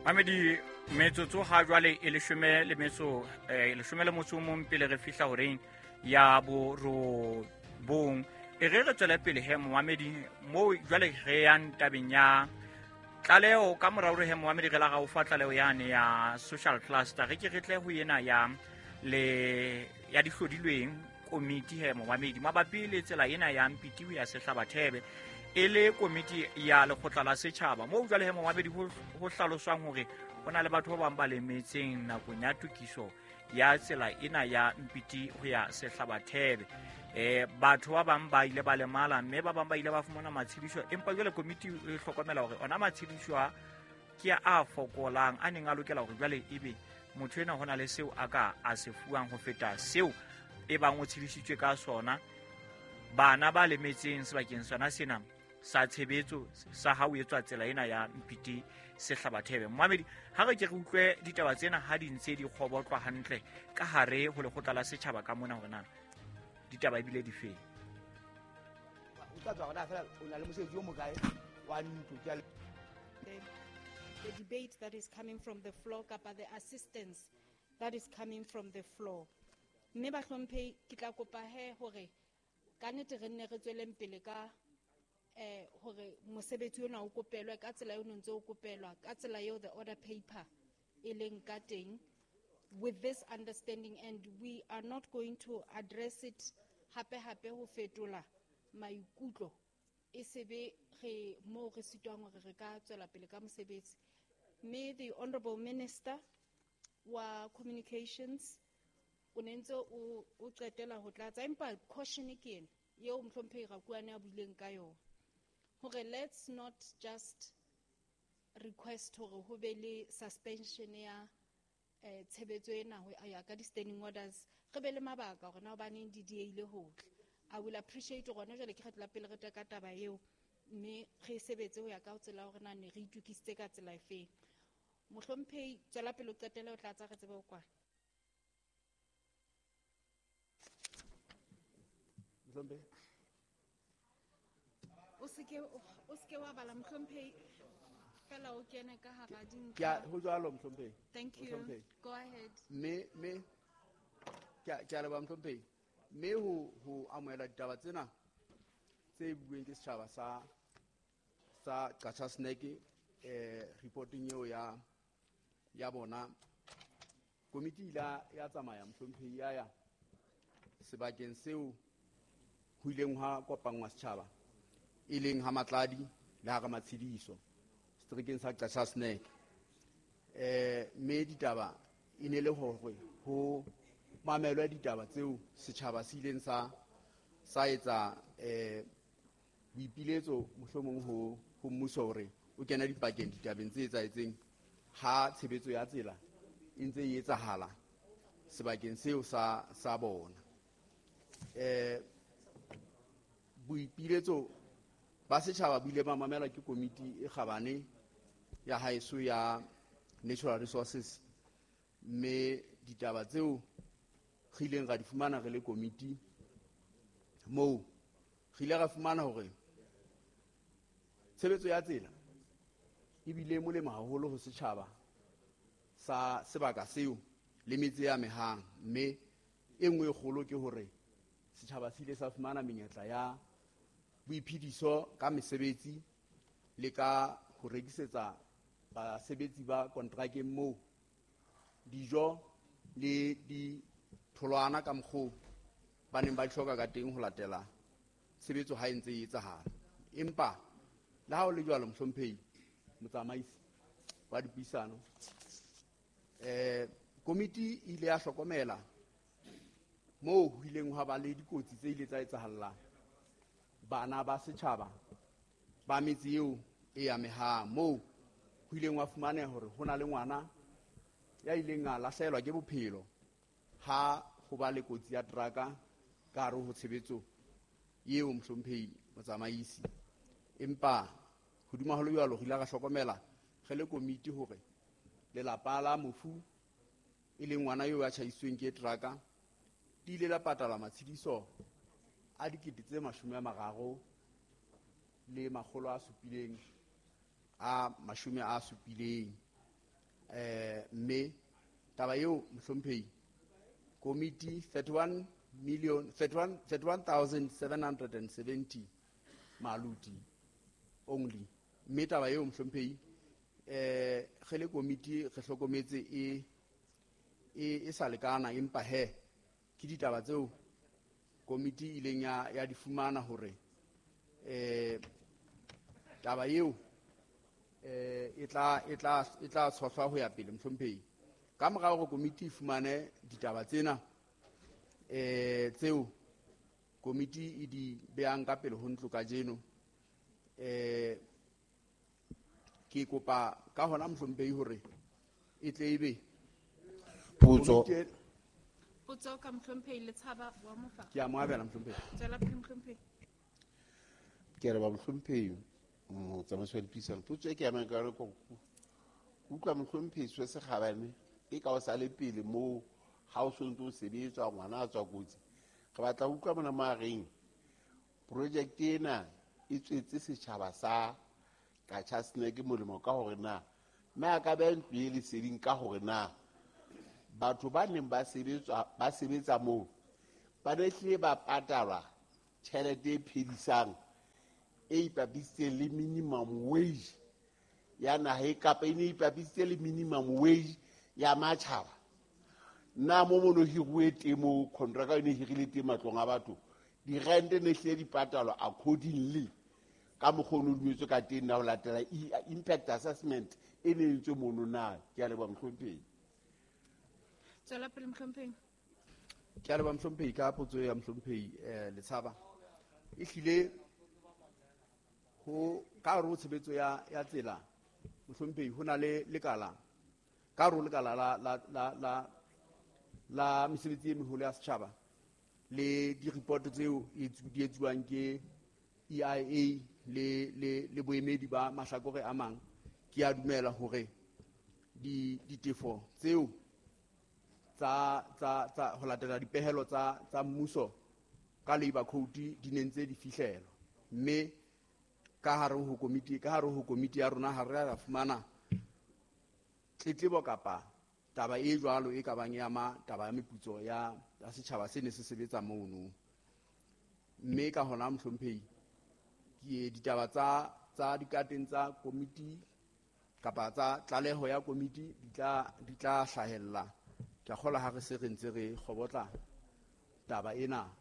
Mamedi, metsotso ha jwale e leshome le metso 11 o mong pele re fihla horeng ya borobong. E re re tswele pele he momamedi, moo jwale re yang tabeng ya tlaleho. Ka morao re he momamedi re la ga o fa tlaleho yane ya social cluster, re ke re tle ho ena ya le ya dihlodilweng komiti he momamedi, mabapi le tsela ena ya Mpiti ho ya Sehlabathebe, e le komiti ya lekgotla la setjhaba, moo jwale he momamedi ho hlaloswang hore ho na le batho ba bang ba lemetseng nakong ya tokiso ya tsela ena ya Mpiti ho ya Sehlabathebe. Batho ba bang ba ile ba lemala, mme ba bang ba ile ba fumana matshediso, empa jwale komiti e hlokomela hore ona matshediso a ke a fokolang, a neng a lokela hore jwale ebe motho ena ho na le seo a ka a se fuwang ho feta seo e bang o tshedisitswe ka sona. Bana ba lemetseng sebakeng sona sena sa tshebetso sa ha o etswa tsela ena ya Mpiti Sehlabathebe. Momamedi, ha re ke re utlwe ditaba tsena ha di ntse di kgobotlwa hantle ka hare ho lekgotla la setjhaba ka mona, hore na ditaba ebile di feng. O tla tswa hona fela, o na le mosebetsi o mokae wa ntlo, ke a le- The debate that is coming from the floor, kapa the assistance that is coming from the floor. Mme bahlomphehi, ke tla kopa he hore ka nnete re nne re tsweleng pele ka hore mosebetsi ona o kopelwe ka tsela eo ntse o kopelwa, ka tsela eo the order paper e leng ka teng, with this understanding, and we are not going to address it hape hape ho fetola maikutlo, e sebe re mo re sitwang hore re ka tswela pele ka mosebetsi. Mme the honorable minister wa communications o ne ntse o qetela ho tlatsa, empa caution ke ena eo mohlomphehi Rakuane a buileng ka yona, hore let's not just request hore ho be le suspension ya tshebetso ena ho ya ka di-standing orders, re be le mabaka hore na hobaneng di dieile ho tla. I will appreciate hore jwale ke kgetlo la pele re teka taba eo, mme re sebetse ho ya ka tsela hore na ne re itokisitse ka tsela efeng. Mohlomphehi, tswela pele o qetele o tlatsa, re tsebe ho kwala. Mohlomphehi. O seke wa bala, mohlomphehi, fela o kene ka hara dintlha. Ke a, ho jwalo, mohlomphehi. Thank you. Mohlomphehi. Go ahead. Mme, ke a leboha, mohlomphehi. Mme ho amohela ditaba tsena tse bueng ke setjhaba sa Qacha's Nek, reporting eo ya bona, komiti ile ya tsamaya, mohlomphehi, ya ya sebakeng seo ho ileng ha kopanngwa setjhaba, e leng ha Matladi le ha Ramatshediso, seterekeng sa Qacha's Nek. Mme ditaba e ne le hore ho mamelwe ditaba tseo setjhaba se ileng sa etsa boipiletso mohlomong ho mmuso hore o kene dipakeng ditabeng tse etsahetseng ha tshebetso ya tsela e ntse e etsahala sebakeng seo sa bona. Boipiletso ba setjhaba bo ile ba mamelwa ke komiti e kgabane ya haeso ya Natural Resources, mme ditaba tseo re ileng ra di fumana re le komiti moo, re ile ra fumana hore tshebetso ya tsela e bile molemo haholo ho setjhaba sa sebaka seo le metse e amehang, mme e nngwe e kgolo ke hore setjhaba se ile sa fumana menyetla ya boiphediso ka mesebetsi le ka ho rekisetsa basebetsi ba kontrakeng moo dijo le ditholwana ka mokgwa ba neng ba di hloka ka teng ho latela tshebetso ha e ntse e etsahala. Empa le ha ho le jwalo, mohlomphehi motsamaisi wa dipuisano, komiti e ile ya hlokomela moo ho ileng hwa ba le dikotsi tse ile tsa etsahalla bana ba setjhaba ba metse eo e amehang, moo ho ileng hwa fumaneha hore ho na le ngwana ya ileng a lahlehelwa ke bophelo ha ho ba le kotsi ya teraka ka hare ho tshebetso eo, mohlomphehi motsamaisi. Empa hodima ho le jwalo, re ile ra hlokomela re le komiti hore lelapa la mofu, e leng ngwana eo ya tjhaisitsweng ke teraka, di ile la patala matshediso a dikete tse mashome a mararo le makgolo a supileng a mashome a supileng. Mme taba eo mohlomphehi komiti 31 million 31,770 maluti only. Mme taba eo mohlomphehi re le komiti re hlokometse e sa lekana, empa he ke ditaba tseo komiti ileng ya di fumana hore taba eo e tla tshohlwa ho ya pele mohlomphehi. Ka mora hore komiti e fumane ditaba tsena tseo komiti e di behang ka pele ho ntlo kajeno, ke kopa ka hona mohlomphehi hore e tle ebe potso ka mohlomphehi Letshaba wa Mofa. Ke a mo abela mohlomphehi. Tswela pele mohlomphehi. Ke re ba mohlomphehi motsamaisi wa dipuisano, potso e ke amang ka yona ke utlwa mohlomphehi se Sekgabane e ka o sa le pele moo ha o sontse o sebetswa ngwana a tswa kotsi. Re batla ho utlwa mona mo a reng project ena e tswetse setjhaba sa Qacha's Nek molemo ka hore na mme a ka beha ntlo e leseding ka hore na batho ba neng ba sebetsa moo ba ne hlile ba patalwa tjhelete e phedisang e ipapisitseng le minimum wage ya naha e kapa e ne ipapisitse le minimum wage ya matjhaba. Na mo mono hiruwe teng mo contract e ne hirile teng matlong a batho, dirente ne hlile di patalwa accordingly ka mokgwa o no dumetswe ka teng na ho latela impact assessment e ne entswe mono na. Ke a leboha mohlomphehi. Tswela pele mohlomphehi. Ke a leboha mohlomphehi ka potso ya mohlomphehi Letshaba. E hlile ho ka hare ho tshebetso ya tsela mohlomphehi ho na le lekala ka hare ho lekala la mesebetsi e meholo ya setjhaba le di-report tseo di etsuwang ke EIA le boemedi ba mahlakore a mang. Ke a dumela hore ditefo tseo tsa ho latela dipehelo tsa mmuso ka labor code di ne ntse di fihlelwa, mme ka hare ho komiti ya rona ha re a fumana tletlebo kapa taba e jwalo e ka bang ya ma taba ya meputso ya setjhaba se ne se sebetsa mono. Mme ka hona mohlomphehi ke ditaba tsa dikateng tsa komiti kapa tsa tlaleho ya komiti di tla hlahella. Ke a kgolwa ha re se re ntse re kgobotla taba ena,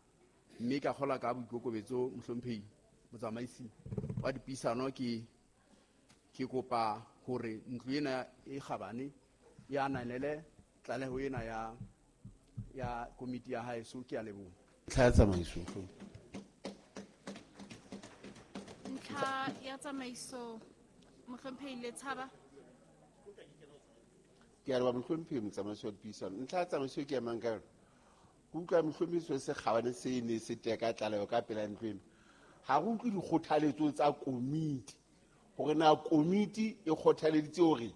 mme ka kgolwa ka boikokobetso mohlomphehi motsamaisi wa dipuisano ke kopa hore ntlo ena e kgabane ya ananele tlaleho ena ya komiti ya haeso. Ke a leboha. Ntlha ya tsamaiso. Ntlha ya tsamaiso mohlomphehi Letshaba. Ke a leboha mohlomphehi motsamaisi wa dipuisano. Ntlha ya tsamaiso ke emang ka yona, ke utlwa mohlomphehi se Sekgabane se ne se teka tlaleho ka pela ntlo ena. Ha re utlwe dikgothaletso tsa komiti hore na komiti e kgothaleditse hore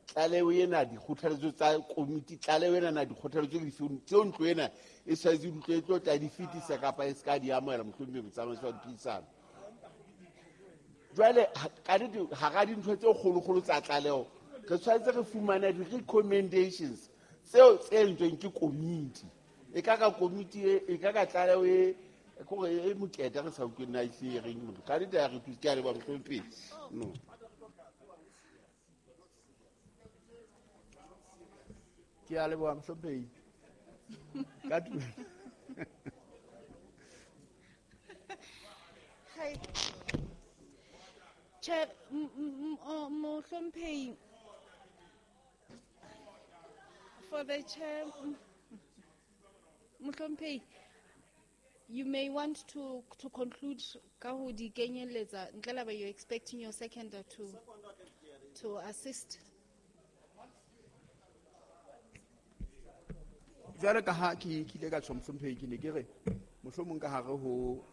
tlaleho ena dikgothaletso tsa komiti tlaleho ena na dikgothaletso ke dife tseo ntlo ena e tshwanetse ntlo e tlo tla di fetisa kapa e se ka di amohela mohlomphehi motsamaisi wa dipuisano. Jwale ka nnete hara dintho tse kgolokgolo tsa tlaleho re tshwanetse re fumane di-recommendations tseo tse entsweng ke komiti. E ka ka komiti e ka ka tlaleho e kore e mokete re sa utlwe na e se reng motho ka nnete ya re thuse. Ke a leboha mohlomphehi. No. Ke a leboha mohlomphehi. Ka tumelo. Hai. Che mohlomphehi, for the chair mohlomphehi, you may want to conclude ka ho di kenyeletsa ntle le ba you're expecting your seconder to assist. Jwale ka ha ke ile ka tjho mohlomphehi, ke ne ke re mohlomong ka hare ho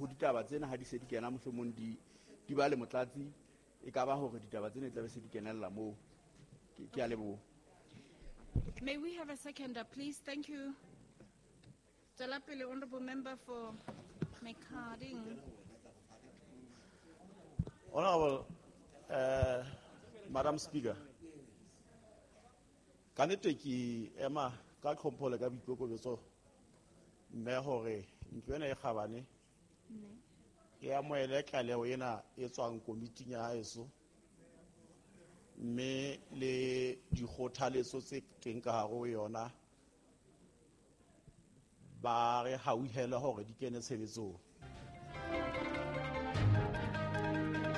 ditaba tsena ha di se di kena mohlomong di ba le motlatsi, e ka ba hore ditaba tsena tla be se di kenella moo. Ke a leboha. May we have a seconder, please? Thank you. Tswela pele, honorable member for Mekading. Honorable Madam Speaker, Ka nnete ke ema ka tlhompho le ka boikokobetso mme hore ntlo ena e kgabane e amohele tlaleho ena e tswang komiting ya haeso, mme le dikgothaletso tse teng ka hare ho yona ba re hauhele hore di kene tshebetsong.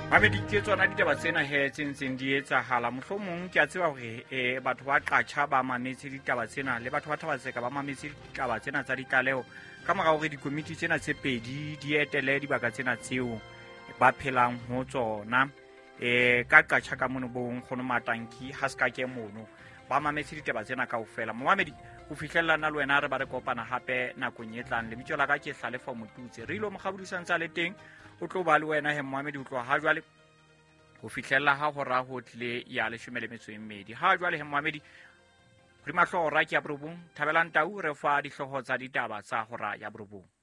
Mamedi, ke tsona ditaba tsena he tse ntseng di etsahala. Mohlomong ke a tseba hore batho ba Qatjha ba mametse ditaba tsena, le batho ba Thabatseka ba mametse ditaba tsena tsa ditlaleho ka mora hore dikomiti tsena tse pedi di etele dibaka tsena tseo ba phelang ho tsona. Ka Qatjha ka mono bo nkgono Matanki ha se ka ke mono ba mametse ditaba tsena kaofela. Momamedi, ho fihlella nna le wena re ba re kopana hape nakong e tlang. Lebitso la ka ke Hlalefa Motutse. Re ilo mokgabodisang tsa le teng o tlo ba le wena he momamedi ho tloha ha jwale ho fihlella ha hora ho tlile ya 12. Ha jwale he momamedi, hodima hlooho hora ke ya 9. Thabelang Tau re fa dihlooho tsa ditaba tsa hora ya 9.